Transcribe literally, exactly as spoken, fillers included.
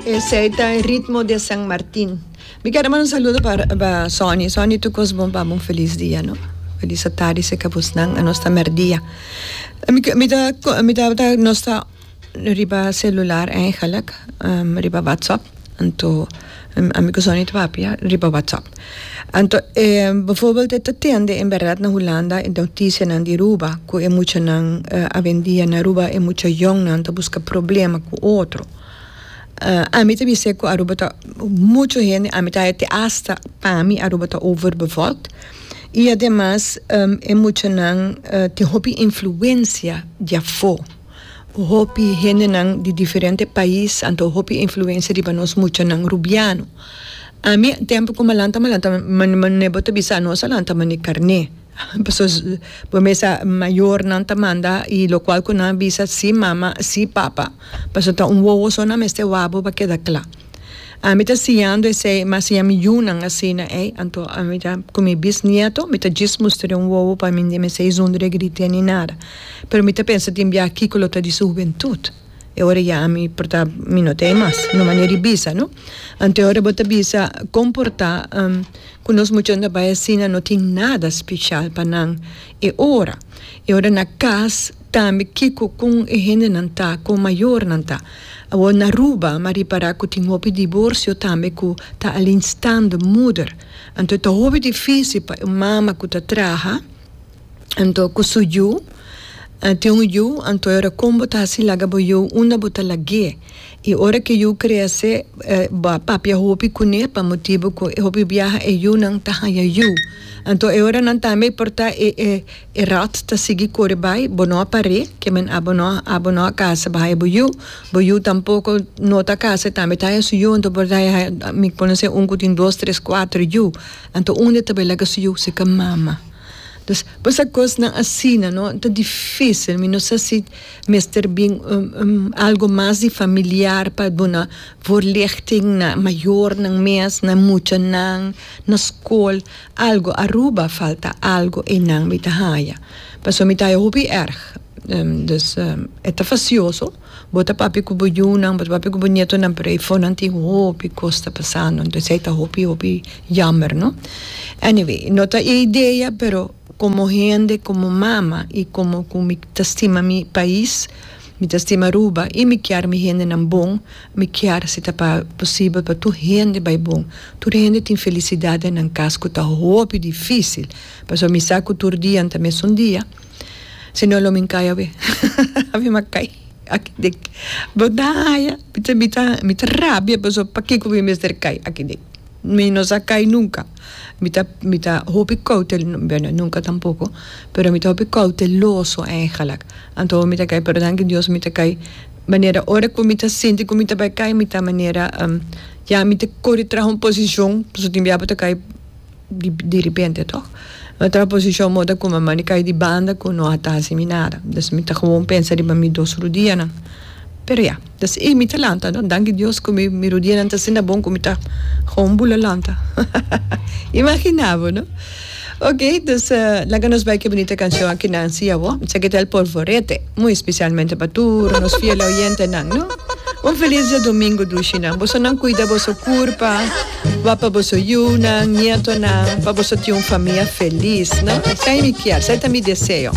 Esey ta Ritmo de San Martin. Mi kier manda un saludo pa, pa Sonny. Sonny, tur cos bon pa un feliz dia, no? Feliz tardi, serca bosnan, nos ta merdia. Mi, mi ta, mi ta, nos ta riba celular eigenlijk, um, riba WhatsApp. Anto, um, ami cu Sonny ta papia, riba WhatsApp. Anto, eh, bijvoorbeeld e ta tende en berdad na Hulanda e noticianan di Aruba, cu e muchanan uh, awendia na Aruba e mucha jongnan ta busca problema cu otro. Uh, ami ta bisa cu Aruba ta mucho hende, ami ta te hasta pa mi Aruba ta overbevolkt. Y ademas um, e muchanan uh, tin hopi influencia di afo. Hopi hendenan di diferente pais, anto hopi influencia riba nos muchanan rubiano. Ami tempo cu m'a lanta m'a lanta man man bo ta bisa nos a lanta mane carne. Pessoas bo mesa mayornan ta manda y locual cu nan bisa si mama, si papa. Paso ta un wowo so nan mester wak bo pa keda cla. Ami ta siñando esey, mas siña mi yiunan asina, eh, anto ami ta cu mi bisnieto, mi ta djis mustra un wowo pa mi mi sei zonder grita ni nada. Pero mi ta pensa tin bia kico lo ta di su hubentud. E ora ya mi por ta mi no tin mas, no manera di bisa, no? Anto ora bo ta bisa comporta um, cu nos muchanan bay asina no tin nada special pa nan e ora. E ora na cas tambe kico con e hendenan ta, con mayornan ta. Awo na Aruba, m'a ripara cu tin hopi divorcio tambe cu ta alleenstaande moeder. Anto ta hopi dificil pa un mama cu ta traha, anto cu su yiu, tin un yiu, anto ora con bo ta haci laga bo yiu unda bo ta lag'e. Y ora cu yiu crece, eh, bo papia hopi cune pa motibo cu hopi biaha e yiunan ta haya yiu. Anto e ora nan tambe por ta e e e rat ta sigui core bay, bo no a pare, kiermen abo no abo no a casa bo haya bo yiu, bo yiu tampoco no ta casa tambe ta haya su yiu, anto por ta mi conoce un cu tin dos, tres, cuater yiu. Anto unda ta bay laga su yiu serca mama. Dus bo cosnan asina, no? Ta dificil, mi no sa si mester bin um, um, algo mas di familiar pa duna voorlichting na mayornan mes, na muchanan, na school, algo Aruba falta algo einan mi ta haya. Paso mi ta haya hopi erg. Um, dus um, e ta fastioso. Bo ta papia cu bo yiunan, bo ta papia cu bo nietonan, pero eifonan tin hopi cos ta pasando. Dus ta hopi hopi jammer, no? Anyway, no ta e idea, pero como hende, como mama y como cu mi ta stima mi pais, mi ta stima Aruba y mi kier mi hendenan bon, mi kier si ta pa posibel pa tur hende bay bon. Tur hende tin felicidad na cas cu ta hopi dificil. Paso mi sa cu tur dia tambe un dia. Si no lo mi cay awe. Ami m'a cay. Aki den. Bo ta mi ta mi ta mi ta rabia paso pakico mi mester cay aki den. Mi no sa cay nunca. Mi ta mi ta hopi cautel, bueno, nunca tampoco, pero mi ta hopi cauteloso eigenlijk. Anto mi ta cay, pero danki Dios mi ta cay manera ora cu mi ta sinti cu mi ta bay cay mi ta manera um, ja mi ta core traha un posicion, paso tin bia bo ta cay di, di repente toch? Mi traha posicion moda cu mi cay di banda cu no ta haci mi nada. Dus mi ta gewoon pensa riba mi dos rudianan. Pero ja, dus e mi ta lanta, no? Danki Dios cu mi mi rudianan ta asina bon cu mi ta gewoon bula lanta. Imagina bo, no? Ok, dus uh, laga nos bay cu bunita cancion aki Nancy awo. Esaki ta El Polvorete, muy especialmente pa tur, nos fiel oyentenan, no? Un feliz diadomingo dushinan. Bosonan cuida boso curpa, wak pa boso yiunan, nietonan, pa boso tin un famia feliz, no? Esey mi kier, esey ta mi deseo.